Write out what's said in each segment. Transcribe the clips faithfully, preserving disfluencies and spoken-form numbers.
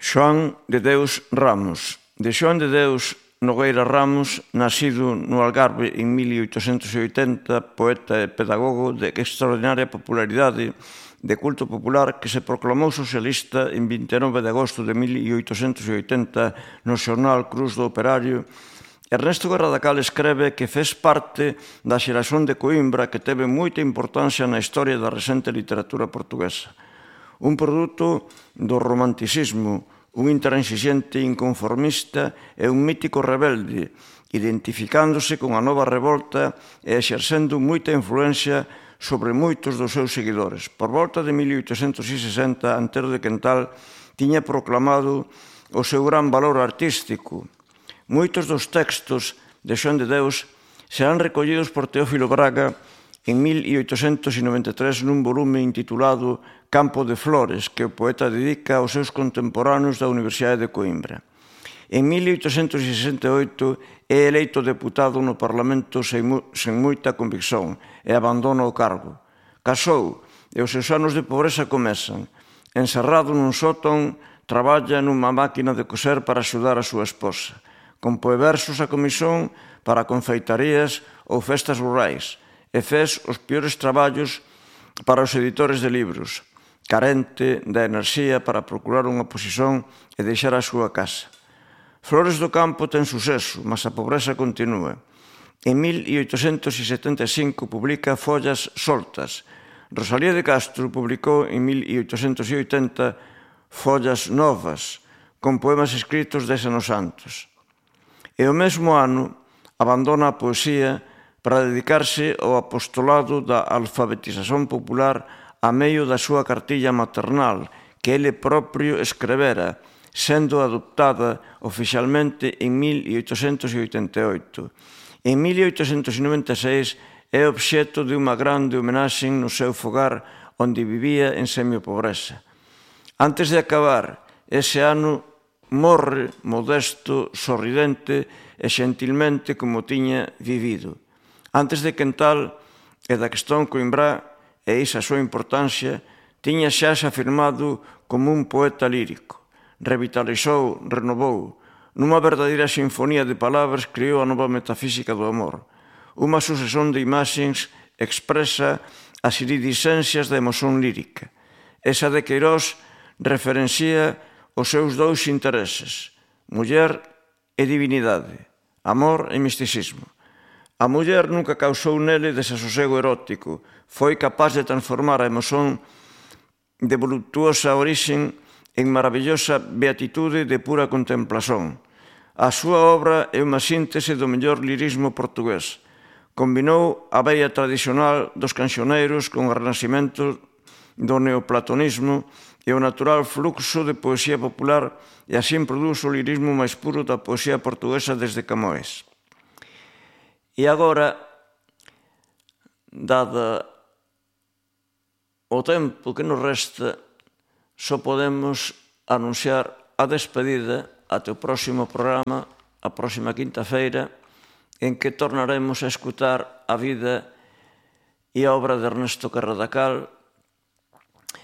Xoán de Deus Ramos. De Xoán de Deus Nogueira Ramos, nacido no Algarve en mil oitocentos e oitenta, poeta e pedagogo de extraordinaria popularidade, de culto popular, que se proclamou socialista en vinte e nove de agosto de mil oitocentos e oitenta no xornal Cruz do Operario, Ernesto Garradacal escreve que fez parte da xeración de Coimbra que teve moita importancia na historia da recente literatura portuguesa. Un produto do romanticismo, un intransigente inconformista e un mítico rebelde, identificándose con a nova revolta e exercendo moita influencia sobre moitos dos seus seguidores. Por volta de mil oitocentos e sesenta, Antero de Quental tiña proclamado o seu gran valor artístico. Moitos dos textos de Xoán de Deus serán recollidos por Teófilo Braga en mil oitocentos e noventa e tres nun volume intitulado Campo de Flores, que o poeta dedica aos seus contemporáneos da Universidade de Coimbra. En mil oitocentos e sesenta e oito é eleito deputado no Parlamento sen moita convicción e abandona o cargo. Casou e os seus anos de pobreza comezan. Encerrado nun sótão, traballa nunha máquina de coser para axudar a súa esposa. Compoe versos a comisión para confeitarías ou festas rurais e fez os piores traballos para os editores de libros, carente da enerxía para procurar unha posición e deixar a súa casa. Flores do Campo ten suceso, mas a pobreza continúa. En mil oitocentos e setenta e cinco publica Follas Soltas. Rosalía de Castro publicou en mil oitocentos e oitenta Follas Novas, con poemas escritos dez anos antes. E o mesmo ano abandona a poesía para dedicarse ao apostolado da alfabetización popular a medio da súa cartilla maternal, que ele propio escrevera, sendo adoptada oficialmente en mil oitocentos e oitenta e oito. En mil oitocentos e noventa e seis é obxecto de unha grande homenaxe no seu fogar onde vivía en semiopobreza. Antes de acabar ese ano, morre modesto, sorridente e xentilmente como tiña vivido. Antes de Quental e da cuestión coimbrá, e esa súa importancia, tiña xa se afirmado como un poeta lírico. Revitalizou, renovou. Nunha verdadeira sinfonía de palabras creou a nova metafísica do amor. Unha sucesión de imaxes expresa as iridiscencias da emoción lírica. Esa de Queirós referencia os seus dous intereses, muller e divinidade, amor e misticismo. A muller nunca causou nele desasosego erótico, foi capaz de transformar a emoción de voluptuosa orixen en maravillosa beatitude de pura contemplación. A súa obra é unha síntese do mellor lirismo portugués. Combinou a veia tradicional dos cancioneiros con o renascimento do neoplatonismo e o natural fluxo de poesía popular e así produzo o lirismo máis puro da poesía portuguesa desde Camões. E agora, dada o tempo que nos resta, só podemos anunciar a despedida até o próximo programa, a próxima quinta-feira, en que tornaremos a escutar a vida e a obra de Ernesto Garradacal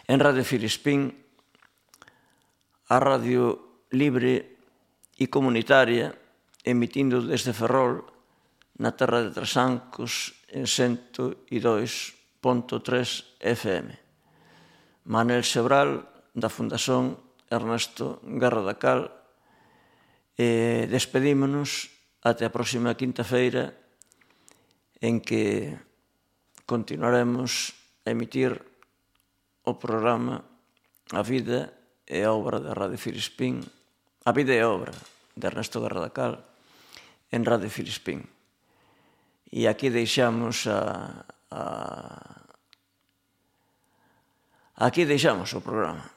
en Radio Filispín, a radio libre e comunitaria, emitindo desde Ferrol, na terra de Trasancos, en cento e dous punto tres F M. Manel Sebral, da Fundación Ernesto Garradacal, e despedímonos até a próxima quinta-feira, en que continuaremos a emitir o programa A vida e a obra de Radio Filispín, A vida e a obra de Ernesto Garradacal en Radio Filispín. E aquí deixamos a, a aquí deixamos o programa.